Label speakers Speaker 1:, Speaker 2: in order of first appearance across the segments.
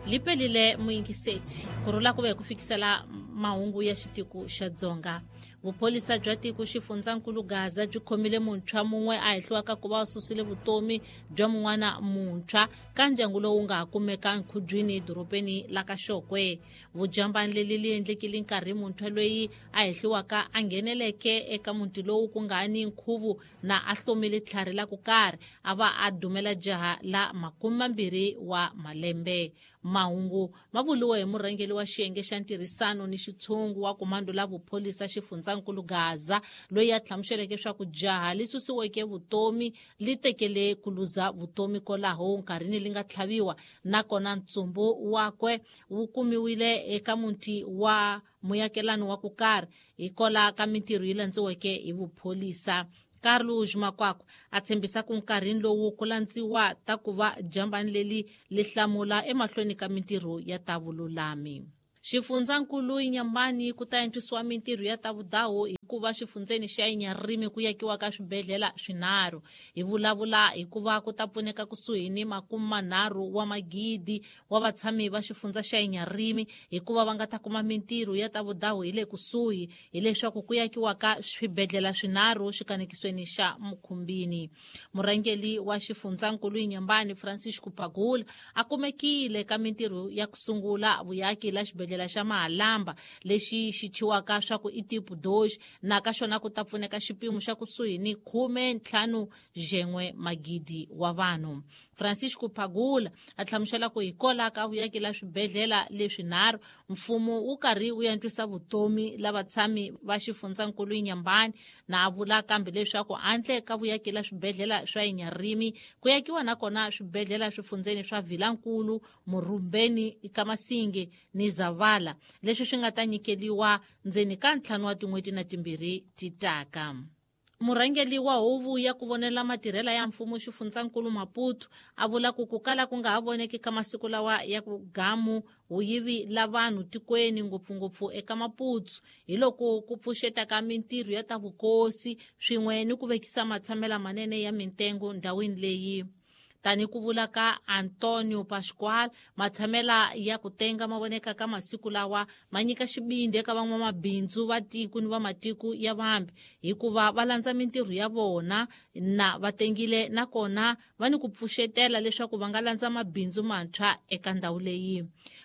Speaker 1: Lipelile muyingiseti ku rhula ku ve ku fikisela mahungu ya xitiko xa Dzonga. Vupholisa bya tiko xifundzankulu Gaza byi khomile muntshwa mun'we a hehliwaka ku va a susile vutomi bya mun'wana muntshwa ka ndyangu lowu nga ha kumeka nkhubyini dorobeni la ka Xokwe. Vujambani leli li endlekile nkarhi muntshwa loyi a hehliwaka a ngheneleke eka muti lowu ku nga ni nkhuvu na a hlomile tlhari la ku karhi a va a dumela jaha la 20 wa malembe. Mahungu ma vuriwe hi murhangeri wa xiyenge xa ntirhisano ni xitshungu wa komando la vupholisa xifundzankulu Gaza, loyi a hlamuseleke swa ku jaha li susiweke vutomi li tekele ku luza vutomi kolaho nkarhini li nga tlhaviwa, nakona ntsumbu wakwe wu kumiwile eka muti wa muyakelani wa ku karhi hikola ka mintirho yi landziweke hi vupholisa. Carlos Makwakwa a tshembisa ku nkarhini lowu ku landziwa ta ku va jambani leli li hlamula emahlweni ka mintirho ya ta vululami. Xifundzankulu Inhambane ku ta antswisiwa mintirho ya ta vudahu hikuva xifundzeni xa Inharime ku yakiwa ka swibedhlele swinharhu. Hi vulavula hikuva ku ta pfuneka kusuhi ni 30 wa magidi wa vatshami va xifundza xa Inharime hikuva va nga ta kuma mintirho ya ta vudahu hi le kusuhi, hileswaku ku yakiwa ka swibedhlele swinharhu xikanekisweni xa Mukhumbini. Murhangeri wa xifundzankulu Inhambane Francisco Pagula a kumekile ka mintirho ya ku sungula vuyaki la xibedhlele xa Mahalamba lexi xi thyiwaka swa ku i tipo 2, na ka xona ku ta pfuneka xipimo xa kusuhi ni 15 jen'we magidi wa vanhu. Francisco Pagula a hlamusela ku hikola ka vuyaki la swibedhlele leswinharhu mfumo wu karhi wu antswisa vutomi la vatshami va xifundzankulu Inhambane, na a vula kambe leswaku handle ka vuyaki la swibedhlele swa Inharime ku yakiwa nakona swibedhlele swifundzeni swa Vilankulu, Murumbeni, Kamasinge ni Zavala, leswi swi nga ta nyikeliwa ndzeni ka 5 wa tin'hweti na 2 ti taka. Murhangeri wa huvo ya ku vonela matirhela ya mfumo xifundzankulu Maputo a vula ku ku kala ku nga ha voneki ka masiku lawa ya ku gamu vuyivi la vanhu tikweni ngopfungopfu eka Maputo, hi loko ku pfuxeta ka mintirho ya ta vukosi swin'we ni ku vekisa matshamela manene ya mintengo ndhawini leyi. Tani ku vula ka Antonio Pascual, matshamela ya ku tenga ma voneka ka masiku lawa ma nyika xibindi eka van'wamabindzu va tiko ni va matiko ya vambe hikuva va landza mintirho ya vona na va tengile, nakona va ni ku pfuxetela leswaku va nga landza mabindzu mantshwa eka ndhawu leyi.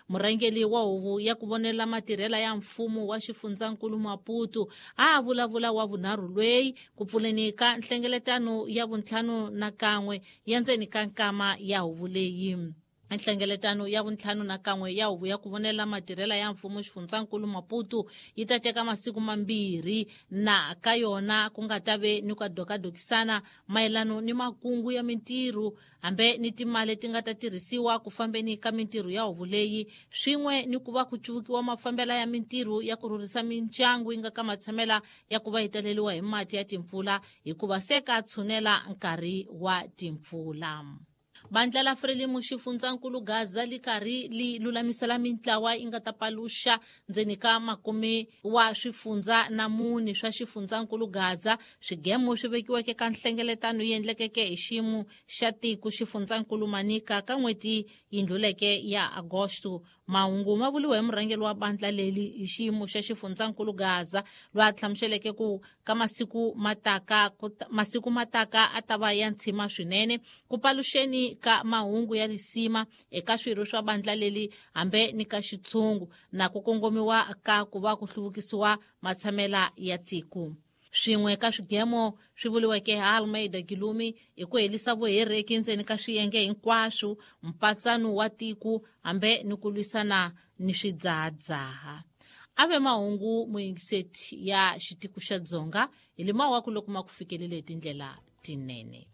Speaker 1: Murhangeri wa huvo ya ku vonela matirhela ya mfumo wa xifundzankulu Maputo a vulavula wa vunharhu lweyi ku pfuleni ka nhlengeletano ya 51 ya ndzeni ka nkama ya huvo leyi. Nhlengeletano ya 51 ya huvo ya ku vonela matirhela ya mfumo xifundzankulu Maputo yi ta teka masiku 2, na ka yona ku nga ta ve ni ku dokadokisana mayelano ni makungu ya mintirho hambe ni timali ti nga ta tirhisiwa ku fambeni ka mintirho ya huvo leyi, swin'we ni ku va ku cuvukiwa mafambela ya mintirho ya ku rhurhisa mindyangu yi nga ka matshamela ya ku va yi taleriwa hi mati ya timpfula hikuva se ka tshunela nkarhi wa timpfula. Bandla la Frelimo xifundzankulu Gaza li karhi li lulamisela mintlawa yi nga ta paluxa ndzeni ka 10 wa swifundza na 4 swa xifundzankulu Gaza swigemo swi vekiweke ka nhlengeletano yi endlekeke hi xiyimo xa tiko xifundzankulu Manica ka n'hweti yi ndluleke ya Agosto. Mahungu ma vuriwe hi murhangeri wa bandla leli hi xiyimo xa xifundzankulu Gaza, loyi a hlamuseleke ku ka masiku mataka a ta va ya ntshima swinene ku paluxeni ka mahungu ya lisima eka swirho swa bandla leli hambe ni ka xitshungu na ku kongomiwa ka ku va ku hluvukisiwa matshamela ya tiko. Swin'we ka swigemo swi vuriweke hi Almeida Gilumi hi ku helisa vuhereki ndzeni ka swiyenge hinkwaswo, mpatsano wa tiko hambe ni ku lwisana ni swidzahadzaha. A ve mahungu muyingiseti ya xitiko xa Dzonga hi lima wa ku loko ma ku fikelele hi tindlela tinene.